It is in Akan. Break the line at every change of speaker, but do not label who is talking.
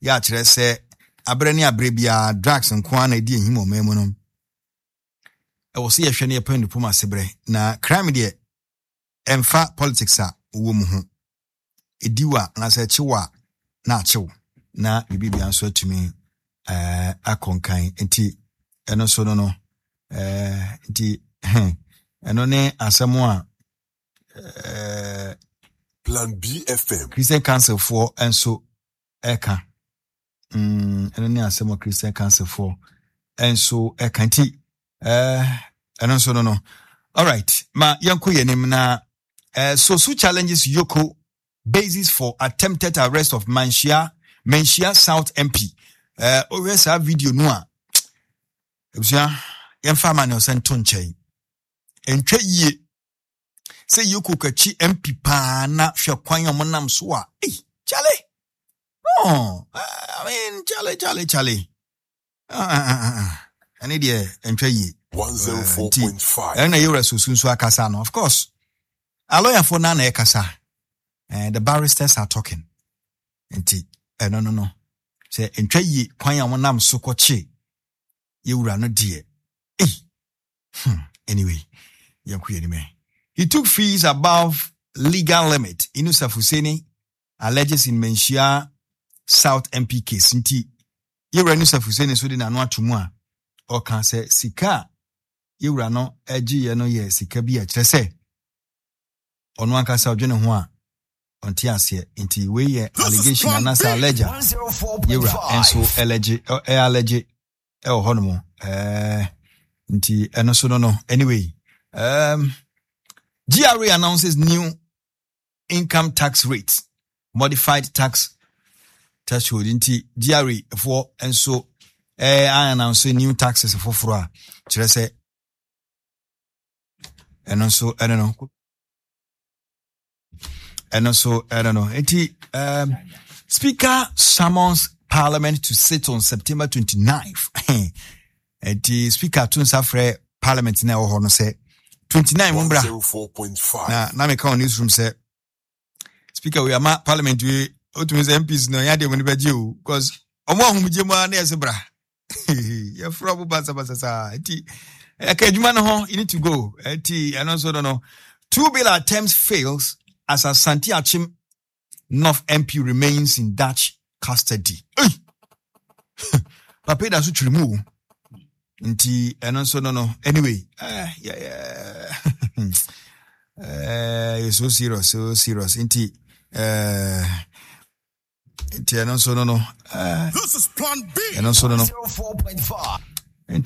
Yɛ akyerɛ sɛ aberɛ ne aberɛ biara drugs nko ara na ɛdi ahim wɔ ɔman mu no. Ɛwɔ sɛ yɛhwɛ no yɛpɛ nipom aseberɛ na crime deɛ ɛmfa politics a wowɔ mu ho. Ɛdi wo a anaasɛ ɛkye wo a na akye wo na biribi nso atumi eh, akɔ nkan nti ɛno nso no no eh, nti ɛno ne asɛm a eh,
Plan BFM.
Christian Council foɔ nso ɛka ɛno ne asɛm a Christian Council foɔ nso ɛka nti ɛno nso no no alright ma yɛnkɔ yɛn anim na Sosu challenges Yoko basis for attempted arrest of Manhyia Manhyia South MP wohwɛ saa video no a abusua yɛmfa ama ne ɔsɛ nto nkyɛn ɛntwa yie sɛ yɛkɔ kakyi mp paa na hwɛ kwan a wɔnam so a ei kyale no I mean kyale kyale kyale ɛne deɛ ɛntwa yie nti ɛno na yɛwura sosu nso akasa no of course alɔyafoɔ no na ɛkasa the barristers are talking nti ɛno no no sɛ ɛntwa yie kwan a wɔnam so kɔkye yɛwura no deɛ ei Hmm, anyway, yɛnkɔ yɛn anim. He took fees above legal limit. Inusa Fuseni alleges in Manhyia South MP case. Nti, yɛwura Inusa Fuseni nso de n'ano ato mu a ɔka sɛ sika a yɛwura no gyeeɛ no yɛ sika bi a kyerɛ sɛ ɔno ankasa ɔdwene ho a ɔnte aseɛ nti wei yɛ allegation anaasɛ allege a yɛwura nso allege ɛ allege ɛwɔ hɔ nom ɛɛ nti ɛno so no no anyway um, GRA announces new income tax rate modified tax threshold nti GRA foɔ nso ɛɛ announce new taxes foforɔ a kyerɛ sɛ ɛno nso ɛno no ɛno nso ɛno no nti um, speaker summons parliament to sit on september 29th nti speaker to nsa frɛ parliament na ɛwɔ hɔ no sɛ 29 mo mbra na na meka wɔ newsroom sɛ speaker wei ama parliament wei otumi sɛ mps no ɛnyɛ adeɛ mo no bɛgye o because ɔmo ahomegye mu ara na yɛsɛ bra yɛfrɛ ɔmo basabasa saa nti ɛka adwuma no ho you need to go nti ɛno nso no no two bill attempts fails as Asante Achim North MP remains in Dutch custody. Hey! Papa da so twere mu o. Nti ɛno nso no no anyway eh, yeah, yeah. eh, so serious so serious nti eh, nti ɛno nso no no eh,
This is Plan B.
ɛno nso no no
104.5.